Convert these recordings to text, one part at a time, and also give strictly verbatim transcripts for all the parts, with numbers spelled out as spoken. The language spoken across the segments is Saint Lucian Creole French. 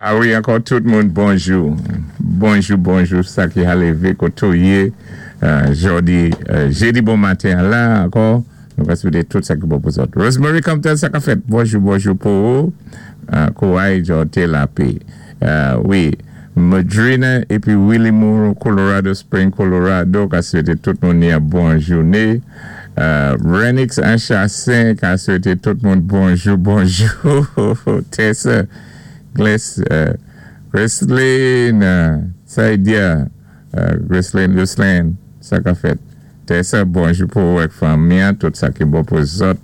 A wi, ankò tout moun, bonjou. Bonjou, bonjou, sa ki a lévé koté ou yé, euh, jòdi, euh, jédi bon maten la, ankò, nou va swété tout sa ki bon pou zòt. Rosemary Compton, sa ka fèt, bonjou, bonjou pou ou, euh, kouway jòté lapé. Euh, wi, Madrina épi Willie Moore, Colorado Spring, Colorado, ka swété tout moun yon bon jouné. Euh, Renix Anchassin, ka swété tout moun bonjou, bonjou. Tessa, Glace, euh, Gresline, euh, Saïdia, euh, Gresline, Gresline, sa ka fèt. Tessa, bonjou pou ou fanmi, tout sa ki bon pou zòt.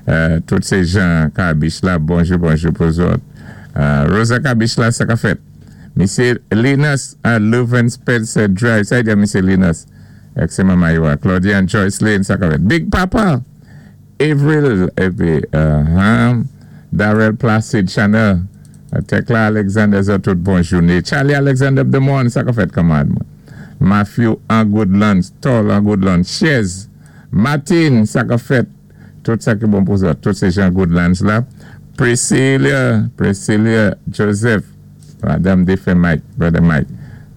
Euh, tout sé jan Kabich la, bonjou, bonjou pou zòt. Euh, Rosa Kabich la, sa ka fèt. Misyé Linus à Leuven Spencer Drive, sa di Misyé Linus. Ak sé manman yo, Claudia and Joycelyn, sa ka fèt. Big Papa, Avril, épi, uh, huh, Darrell Placid Chanel, Tekla Alexander, zòt tout bon jouné. Charlie Alexander de Mon, sa ka fèt kanmad mwen. Matthew an Goodlands, Tall an Goodlands, Chez, Martin, sa ka fèt. Tout sa ki bon pou zòt, tout sé jan Goodlands la. Priscilla, Priscilla Joseph, Madame Defe Mike, Brother Mike.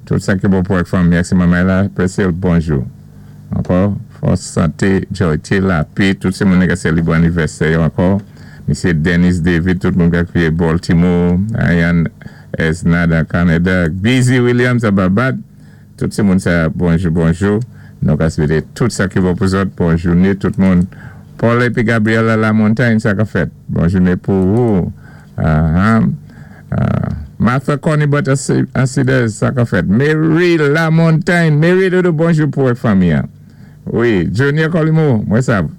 Tout sa ki bon pou ak fanmi, ak sé manman la, Priscilla, bonjou. Ankò, fòs santé, jòyté, lapé, tout sé moun ka sélébwé anivèsè yo ankò. Misyé Dennis David, tout moun ka kriyé Baltimore, Ayan Esnada, Canada, Busy Williams a Babad, tout sé moun sa, bonjou, bonjou. Nou ka swété tout sa ki bon pou zòt, bon jouné, tout moun. Paul épi Gabriela La Montagne, sa ka fèt. Bon jouné pou ou. Uh-huh. Uh, Martha Connie Butter Acidez, sa ka fèt. Mary La Montagne, Mary Dodo, bonjou pou fanmi. Wi, Junior Colimo, mwen sav.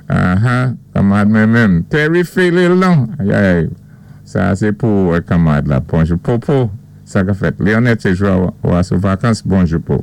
Uh-huh. Kanmad mwen menm. Terry Philil, non. Ay, ay. Sa, sé pou kanmad la. Bonjou. Popo, sa ka fèt. Léonette, sé jou ou sou vakans, bonjou pou.